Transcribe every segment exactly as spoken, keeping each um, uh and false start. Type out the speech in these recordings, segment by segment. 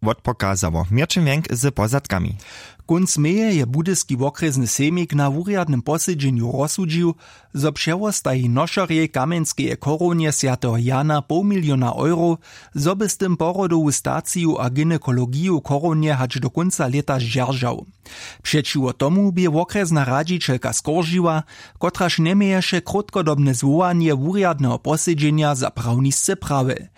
wotpokazało měrćin wjenk z pozadkami. Kónc meje je budyski wokrjesny sejmik na wurjadnym posedźenju rozsudźił, zo přewostaji nošerjej kamjenskeje chorownje swjateho jana poł miliona eurow, zo by z tym porodowu staciju a gynekologiju chorownje hač do kónca lěta zdźeržał. Přećiwo tomu bě wokrjesna radźićelka skoržiła, kotraž njeměješe krótkodobne zwołanje wurjadneho posedźenja za prawnisce prawy.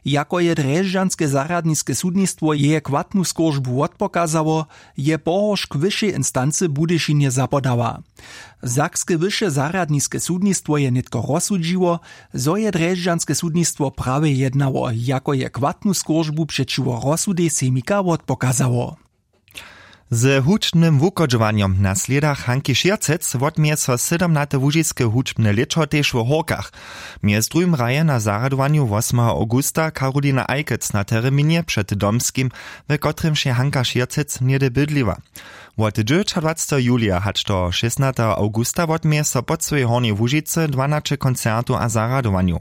Jako je drježdźanske zarjadniske sudnistwo jeje chwatnu skóržbu wotpokazało, je pohoršk wyšej instancy w budyšinje zapodała. Sakske wyše zarjadniske sudnistwo je nětko rozsudźiło, zo je drježdźanske sudnistwo prawje jednało, jako je chwatnu skóržbu přećiwo rozsudej sejmika wotpokazało. Z hudźbnym wuchodźowanjom na slědach Hanki Šěrcec wotměje so sydomnate łužiske hudźbne lěćo tež w Hórkach. Mjez druhim hraje na zarjadowanju wosmeho awgusta Karolina Ajkec na tereminje před Domskim, w kotrymž je Hanka Šěrcec něhdy bydliła. Wot dźewjećadwaceteho julija hač do šěsnateho awgusta wotměje so po cyłej Hornjej Łužicy dwanaće koncertow a zarjadowanjow.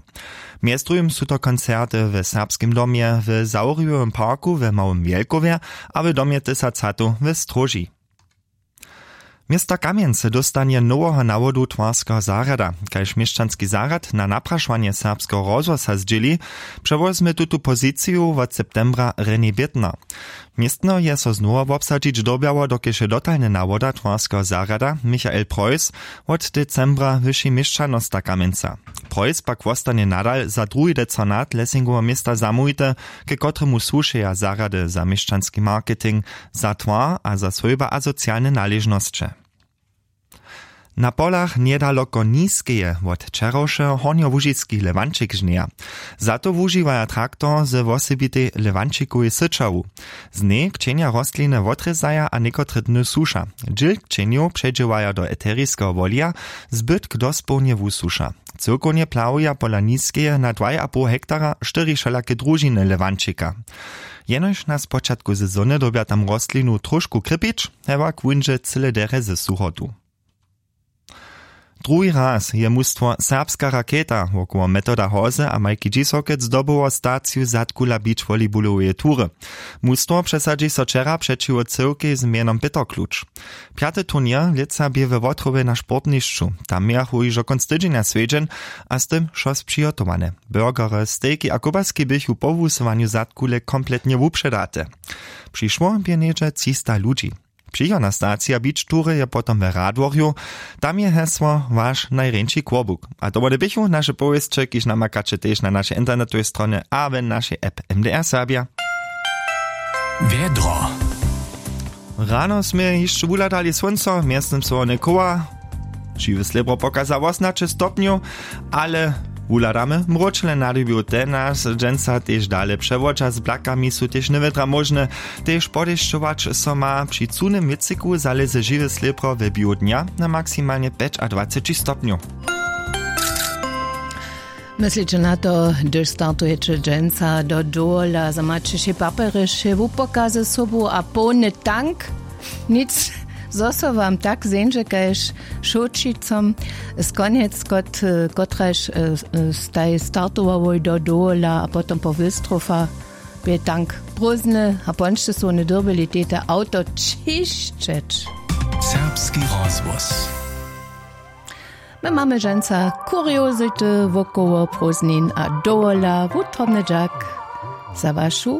Mjez druhim su to koncerty w Serbskim domje, w Zawriwowym parku w Małym Wjelkowje a w domje tysac hatow w Stróži. Město Kamjenc dóstanje noweho nawodu twarskeho zarjada. Kaž měšćanski zarjad na naprašowanje Serbskeho rozhłosa zdźěli, přewozmy tutu poziciju wot septembra René Bětner. Městno je so znowa wobsadźić dyrbjało, dokelž je dotalny nawoda twarskeho zarjada Michael Preuss wot decembra wyši měšćanosta Kamjenca. Preuss pak wostanje nadal za druhi decanat Lesingoweho města zamołwity, ke kotremu słušeja zarjady za měšćanski marketing, za twar a za swójba a socialne naležnosće. Na polach njedaloko Niskeje wot wčerawšeho hornjołužiski Lewančik žnjeja. Za to wužiwaja traktor ze wosebitej Lewančikowej syćawu. Z njej kćenja rostliny wotrězaja a někotre dny suša. Dźěl kćenjow předźěłaja do eteriskeho wolija, zbytk dospołnje wusuša. Cyłkownje plahuja pola Niskeje na dwaj a poł hektara štyri wšelake družiny Lewančika. Jenož na spočatku sezony dyrbja tam rostlinu tróšku krěpić, hewak wón dźe cyle derje ze suchotu. Druhi raz je mustwo Serbska raketa wokoło Metoda Hozy a Majki Dźisokec zdobyło staciju zadkula beach volleyballoweje tury. Mustwo přesadźi so wčera přećiwo cyłkej z mjenom Pětr Kluč. Pjaty turněr lětsa bě we Wotrowje na sportnišću. Tam mějachu hižo kónc tydźenja swjedźeń a z tym wšo přihotowane. Burgery, stejki a kobaski běchu po wusyłanju zadkule kompletnje wupředate. Přišło bě něhdźe třista ludźi. Přichodna stacija beach tury je potom we Radworju. Tam je hesło Waš najrjeńši kłobuk. A to wone běchu naše powěsće, kiž namakaće tež na našej internetowej stronje a w našej app M D R Serbja. Wjedro. Rano smy hišće wuhladali słónco, mjeztym so wone chowa. Žiwy slěbro pokaza wosomnaće stopnjow, ale wuhladamy mróčle na dyrbju. Ten nas dźensa tež dale přewodźa, z blakami su tež njewětra móžne. Tež podešćować so ma. Při cunym wětřiku zalěze žiwy slěbro we běhu dnja na maksimalnje pjećadwaceći stopnjow. Mysliće na to, hdyž startujeće dźensa do dowola, zo maće wšě papjerje, wše wupokazy sobu a połny tank? Nic, zo so wam tak zeńdźe kaž šołćicom. Z konjec kot, kotraž, e, e, staj startowałoj do dowola a potom po wystrofa bě tank prózdny a pončty su wone dyrbyli tete awto ćišćeć. Serbski rozhłos. My mamy dźensa kuriozity wokoło prózdnin a dowola. Wutrobny dźak za wašu